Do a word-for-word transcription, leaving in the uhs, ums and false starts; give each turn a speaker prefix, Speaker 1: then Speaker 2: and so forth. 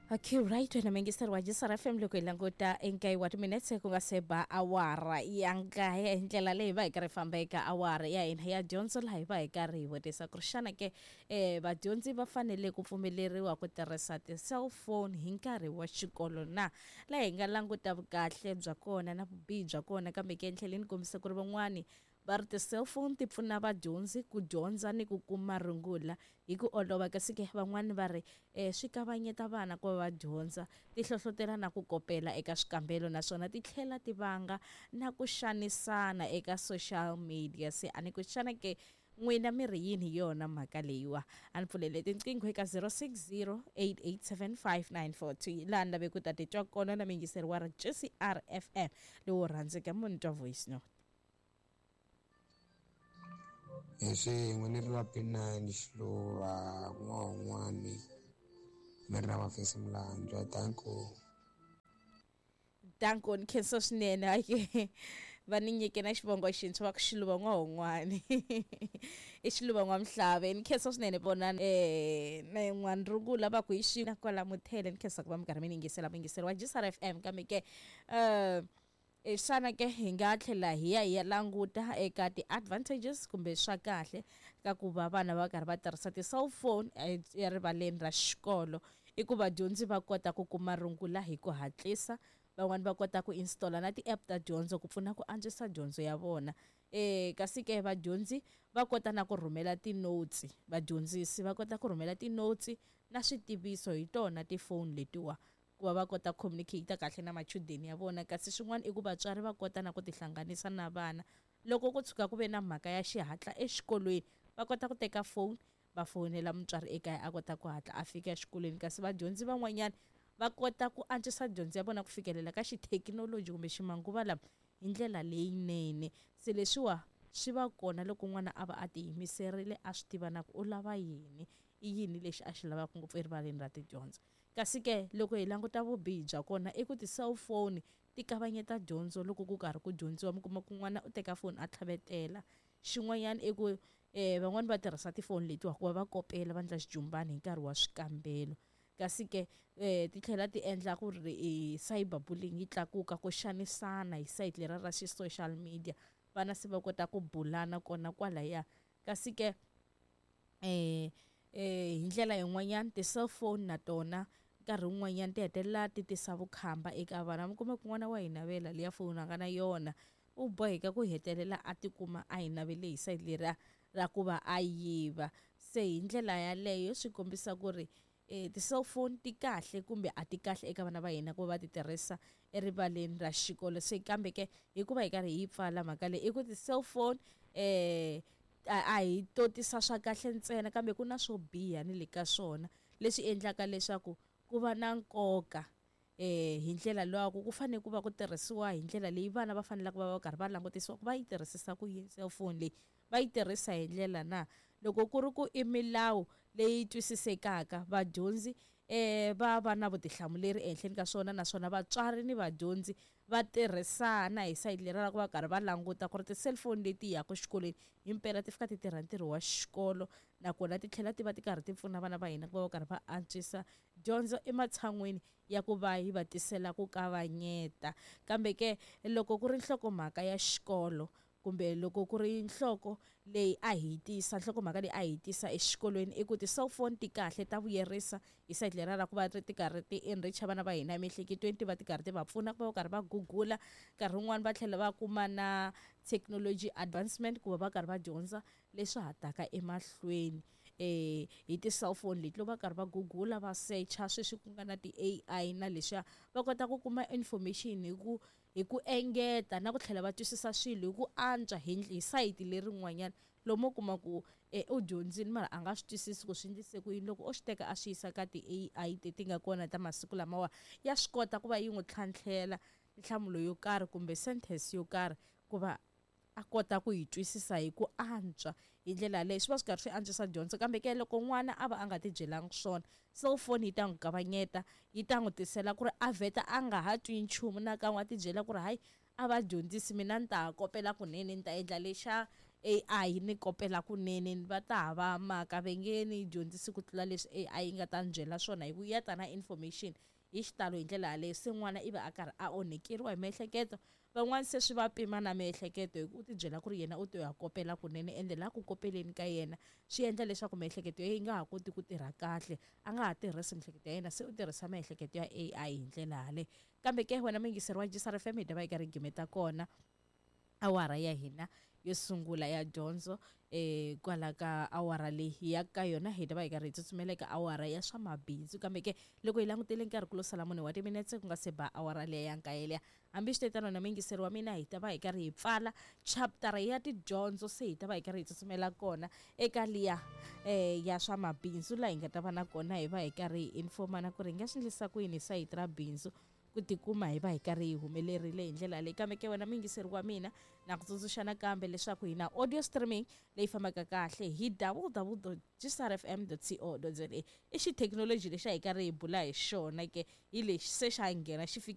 Speaker 1: Okay, right, wena mingiseri wa J S R F M, loko hi languta enkaye wa timinetse ku nga se ba awara ya nkaye, hi ndlela leyi va hi karhi famba eka awara ya hina ya dyondzo, laha hi va hi karhi hi vutisa ku ri xana ke um vadyondzi va fanele ku pfumeleriwa ku tirhisa ti-cellphone hi nkarhi wa xikolo na? Laha hi nga languta vukahle bya kona na vubihi bya kona, kambe ke ni tlhele ni kombisa ku ri van'wani va ri ti-cellphone ti pfuna vadyondzi ku dyondza ni ku kuma rungula hi ku olova, kasi ke van'wani va ri um swi kavanyeta vana ku va va dyondza, ti hlohlotela na ku kopela eka swikambelo, naswona ti tlhela ti vanga na ku xanisana eka social media. Se a ni ku xana ke n'wina mi ri yini hi yona mhaka leyiwa? A ni pfulele tinqingho eka zero six zero eight eight seven five nine four two, laha ni lave ku ta titwa kona na muyingiseri wa ri J C R F M lowu rhandzeka munhu twa voice note.
Speaker 2: Hi swin'we ni ri va P nine Xiluva n'wana mi ri na Mafesi Mulandzwa, danko.
Speaker 1: Danko, ni khensa swinene. Ake va ni nyike na xivongo xintshwa, va ku Xiluva n'wahon'wani, i Xiluva n'wamhlave. Ni khensa swinene vona um na yin'wana rungula va ku hi xi na kwala muthele. Ni khensa ku va mi karhi mi ni yingisela, muyingiseri wa J S R F M. Kambe ke um xana ke hi nga tlhela hi ya hi ya languta eka ti-advantages kumbe swa kahle ka ku va vana va karhi va tirhisa ti-cellphone erivaleni ra xikolo? I ku vadyondzi va kota ku kuma rungula hi ku hatlisa, van'wani va kota ku installa na ti-app ta dyondzo ku pfuna ku antswisa dyondzo ya vona, um kasi ke vadyondzi va kota na ku rhumela ti-notes, vadyondzisi va kota ku rhumela ti-notes na switiviso hi tona tifoni letiwa, ku va va kota ku communicate kahle na machudeni ya vona. Kasi swin'wana i ku vatswari va kota na ku tihlanganisa na vana loko ku tshuka ku ve na mhaka ya xihatla exikolweni, va kota ku teka phone va fonela mutswari ekaya, a kota ku hatla a fika exikolweni. Kasi vadyondzi van'wanyana va kota ku antswisa dyondzo ya vona ku fikelela ka xithekinoloji kumbe ximanguva lama hi ndlela leyinene. Se leswiwa swi va kona loko n'wana a va a tiyimiserile, a swi tiva na ku u lava yini, i yini lexi a xi lavaka ngopfu erivaleni ra tidyondzo. Kasi ke loko hi languta vubihi bya kona, i ku ti-cellphone ti kavanyeta dyondzo loko ku karhi ku dyondziwa. Mi kuma ku n'wana u teka foni a tlhavetela. Xin'wanyana i ku um van'wani va tirhisa tifoni letiwa ku va va kopela, va endla xijumbani hi nkarhi wa swikambelo. Kasi ke um ti tlhela ti endla ku ri cyber bullying yi tlakuka, ku xanisana hi sayiti leriya ra xi-social media, vana se va kota ku bulana kona kwalaya. Kasi ke um hi ndlela yin'wanyana ti-cellphone na tona nkarhi wun'wanyana ti hetelela ti tisa vukhamba eka vana. Mi kuma ku n'wana wa hi navela liya foni a nga na yona, u boheka ku hetelela a tikuma a yi navele hi sayiti leriya ra ku va a yiva. Se hi ndlela yaleyo swi kombisa ku ri um ti-cellphone ti kahle kumbe a ti kahle eka vana va hina ku va va ti tirhisa erivaleni ra xikolo. Se kambe ke hikuva hi karhi hi yi pfala mhaka leyi, i ku ti-cellphone um a hi to tisa swa kahle ntsena, kambe ku na swo biha ni le ka swona, leswi endlaka leswaku ku va na nkoka eh hi ndlela lwaku ku fanele ku va ku tirhisiwa hi ndlela leyi vana va faneleke va va karhi va langutisiwa ku va yi tirhisisa ku yini cellphone leyi, va yi tirhisa hi ndlela na. Loko ku ri ku i milawu leyi twisisekaka, vadyondzi eh va va na vutihlamuleri ehenhleni ka swona, naswona vatswari ni vadyondzi va tirhisana hi sayiti leri ra ku va karhi va languta ku ri ti-cellphone leti yaka xikolweni himpela ti fika ti tirha ntirho wa xikolo, nakona ti tlhela ti va ti karhi ti pfuna vana va hina ku va va karhi va antswisa dyondzo ematshan'wini ya ku va yi va tisela ku kavanyeta. Kambe ke loko ku ri nhlokomhaka ya xikolo, kumbe loko ku ri nhloko leyi a hi tisa nhlokomhaka leyi a hi tisa exikolweni, i ku ti-cellphone ti kahle, ta vuyerisa hi sayiti leriya ra ku va ti karhi ti enrich vana va hina emiehleketweni, ti va ti karhi ti va pfuna ku va va karhi va gugula, nkarhi wun'wani va tlhela va kuma na technology advancement ku va va karhi va dyondza leswi ha taka emahlweni eh hi ti-cellphone leti. Loko va karhi va gugula, va secha sweswi ku nga na ti-A I na leswiya, va kota ku kuma information hi ku hi ku engeta na ku tlhela va twisisa swilo hi ku antswa hi hi sayiti lerin'wanyana. Lomu u kuma ku e u dyondzile mara a nga swi twisisi ku swi endlise ku yini, loko o swi teka a swi yisa ka ti-A I leti nga kona ta masiku lamawa, ya swi kota ku va yi n'wi tlhantlhela nhlamulo yo karhi kumbe sentence yo karhi ku va a kota ku yi twisisa hi ku antswa. Hi ndlela yaleyo swi va swi karhi swi antswisa dyondzo. Kambe ke loko n'wana a va a nga ti byelanga swona, cellphone yi ta n'wi kavanyeta, yi ta n'wi tisela ku ri a vheta a nga ha twi nchumu nakan'we, a ti byela ku ri hayi, a va dyondzisi mina, ni ta ha kopela kunene, ni ta endla lexa. A I ni kopela kunene va ta hava mhaka va nge ni dyondzisi ku tlula leswi A I yi nga ta ni byela swona hi ku ya ta na information hi xitalo hi ndlela yaleyo. Se n'wana i va a karhi a onhekeriwa hi miehleketo, van'wani se swi va pima na miehleketo hi ku u ti byela ku ri yena u to ya kopela kunene, ende laha ku kopeleni ka yena swi endla leswaku miehleketo ya yi nga ha koti ku tirha kahle, a nga ha tirhisi miehleketo ya yena, se u tirhisa miehleketo ya A I hi ndlela yaleyo. Kambe ke wena muyingiseri wa J S R F M, hi ta va hi karhi hi gimeta kona awara ya hina yo sungula ya dyondzo eh kwala ka awara leyi ya ka yona hi ta va hi karhi hi tsutsumela eka awara ya swa mabindzu. Kambe ke loko hi langutele nkarhi ku lo sala mune wa timinetse ku nga se ba awara leya ya nkaye liya. Hambi swi tetano na muyingiseri wa mina, hi ta va hi karhi hi pfala chaptara ya tidyondzo, se hi ta va hi karhi hi tsutsumela kona eka liya eh ya swa mabindzu, laha hi nga ta va na kona hi va hi karhi hi informana ku ri hi nga swi endlisa ku yini hi sayiti ra bindzu ku tikuma hi va hi karhi hi humelerile hi ndlela leyi. Kambe ke wena muyingiseri wa mina, na ku tsundzuxa nakambe leswaku hi na audio streaming leyi fambaka kahle hi w w w dot gsrfm dot co dot za. I xithekinoloji lexi a hi karhi hi bula hi xona ke, hi lexi se xa nghena xi fike.